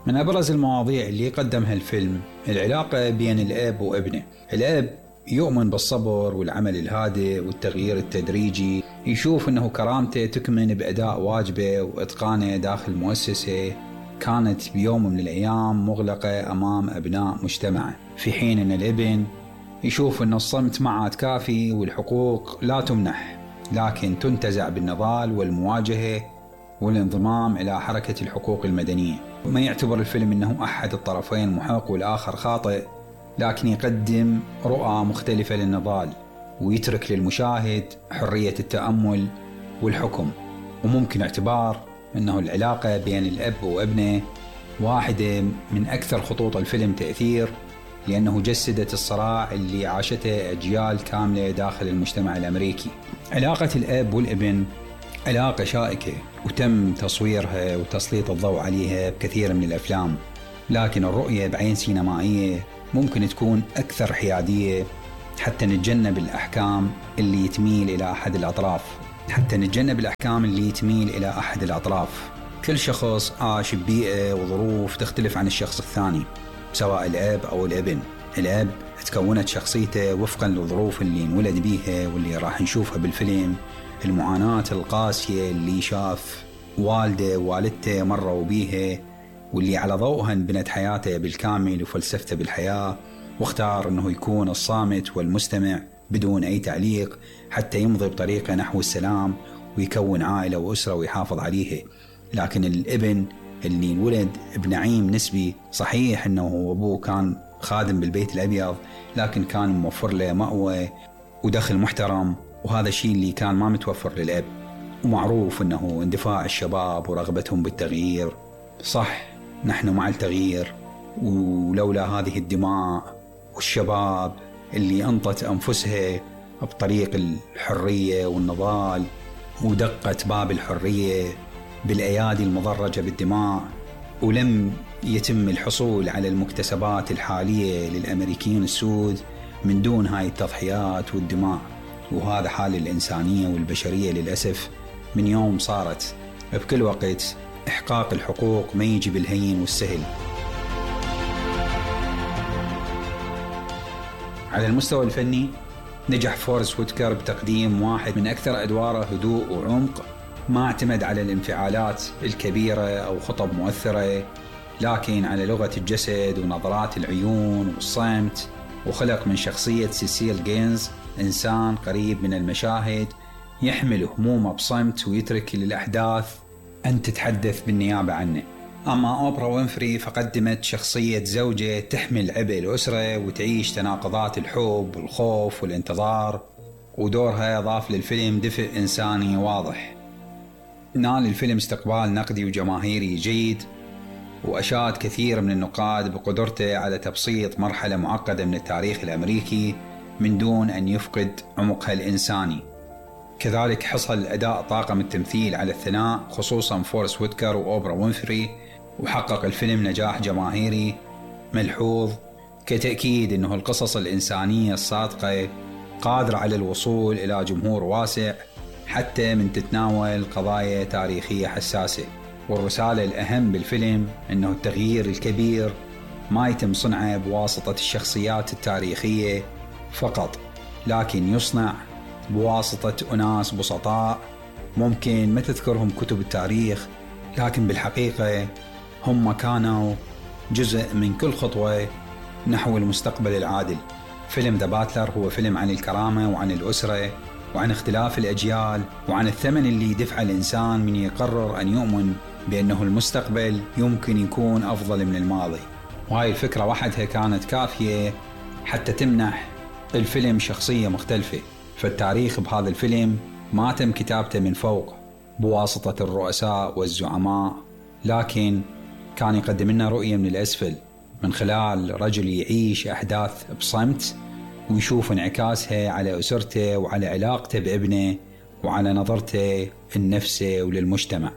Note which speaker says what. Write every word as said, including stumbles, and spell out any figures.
Speaker 1: من أبرز المواضيع اللي قدمها الفيلم العلاقة بين الأب وابنه. الأب يؤمن بالصبر والعمل الهادئ والتغيير التدريجي، يشوف أنه كرامته تكمن بأداء واجبه وإتقانه داخل مؤسسة كانت بيوم من الأيام مغلقة أمام أبناء مجتمعه، في حين أن الابن يشوف أن الصمت ما عاد كافي والحقوق لا تمنح لكن تنتزع بالنضال والمواجهة والانضمام إلى حركة الحقوق المدنية. ما يعتبر الفيلم أنه أحد الطرفين محق والآخر خاطئ، لكن يقدم رؤى مختلفة للنضال ويترك للمشاهد حرية التأمل والحكم. وممكن اعتبار أنه العلاقة بين الأب وابنه واحدة من أكثر خطوط الفيلم تأثير، لأنه جسدت الصراع اللي عاشته أجيال كاملة داخل المجتمع الأمريكي. علاقة الأب والابن علاقة شائكة وتم تصويرها وتسليط الضوء عليها بكثير من الأفلام، لكن الرؤية بعين سينمائية ممكن تكون أكثر حيادية حتى نتجنب الأحكام اللي تميل إلى أحد الأطراف حتى نتجنب الأحكام اللي تميل إلى أحد الأطراف. كل شخص عاش ببيئة وظروف تختلف عن الشخص الثاني، سواء الأب أو الابن. الأب تكونت شخصيته وفقا للظروف اللي انولد بيها واللي راح نشوفها بالفيلم، المعاناة القاسية اللي شاف والده ووالدته مروا بيها واللي على ضوءها بنت حياته بالكامل وفلسفته بالحياة، واختار أنه يكون الصامت والمستمع بدون أي تعليق حتى يمضي بطريقة نحو السلام ويكون عائلة وأسرة ويحافظ عليها. لكن الابن اللي انولد بنعيم نسبي، صحيح أنه أبوه كان خادم بالبيت الأبيض لكن كان موفر له مأوى ودخل محترم، وهذا الشيء اللي كان ما متوفر للأب. ومعروف أنه اندفاع الشباب ورغبتهم بالتغيير، صح نحن مع التغيير، ولولا هذه الدماء والشباب اللي أنطت أنفسها بطريق الحرية والنضال ودقت باب الحرية بالأيادي المضرجة بالدماء، ولم يتم الحصول على المكتسبات الحالية للأمريكيين السود من دون هاي التضحيات والدماء. وهذا حال الإنسانية والبشرية للأسف، من يوم صارت بكل وقت إحقاق الحقوق ما يجي بالهين والسهل. على المستوى الفني نجح فورست ويتكر بتقديم واحد من أكثر أدواره هدوء وعمق، ما اعتمد على الانفعالات الكبيرة أو خطب مؤثرة، لكن على لغة الجسد ونظرات العيون والصمت، وخلق من شخصية سيسيل جينز إنسان قريب من المشاهد يحمل همومه بصمت ويترك للأحداث أن تتحدث بالنيابة عنه. أما أوبرا وينفري فقدمت شخصية زوجة تحمل عبء الأسرة وتعيش تناقضات الحب والخوف والانتظار، ودورها ضاف للفيلم دفء إنساني واضح. نال الفيلم استقبال نقدي وجماهيري جيد، وأشاد كثير من النقاد بقدرته على تبسيط مرحلة معقدة من التاريخ الأمريكي من دون أن يفقد عمقها الإنساني. كذلك حصل أداء طاقم التمثيل على الثناء، خصوصا فورست ويتكر وأوبرا وينفري، وحقق الفيلم نجاح جماهيري ملحوظ كتأكيد أنه القصص الإنسانية الصادقة قادرة على الوصول إلى جمهور واسع حتى من تتناول قضايا تاريخية حساسة. والرسالة الأهم بالفيلم أنه التغيير الكبير ما يتم صنعه بواسطة الشخصيات التاريخية فقط، لكن يصنع بواسطة أناس بسطاء ممكن ما تذكرهم كتب التاريخ، لكن بالحقيقة هم كانوا جزء من كل خطوة نحو المستقبل العادل. فيلم ذا باتلر هو فيلم عن الكرامة وعن الأسرة وعن اختلاف الأجيال وعن الثمن اللي يدفع الإنسان من يقرر أن يؤمن بأنه المستقبل يمكن يكون أفضل من الماضي. وهاي الفكرة وحدها كانت كافية حتى تمنح الفيلم شخصية مختلفة. فالتاريخ بهذا الفيلم ما تم كتابته من فوق بواسطة الرؤساء والزعماء، لكن كان يقدم لنا رؤية من الأسفل من خلال رجل يعيش أحداث بصمت ويشوف انعكاسها على أسرته وعلى علاقته بابنه وعلى نظرته لنفسه وللمجتمع.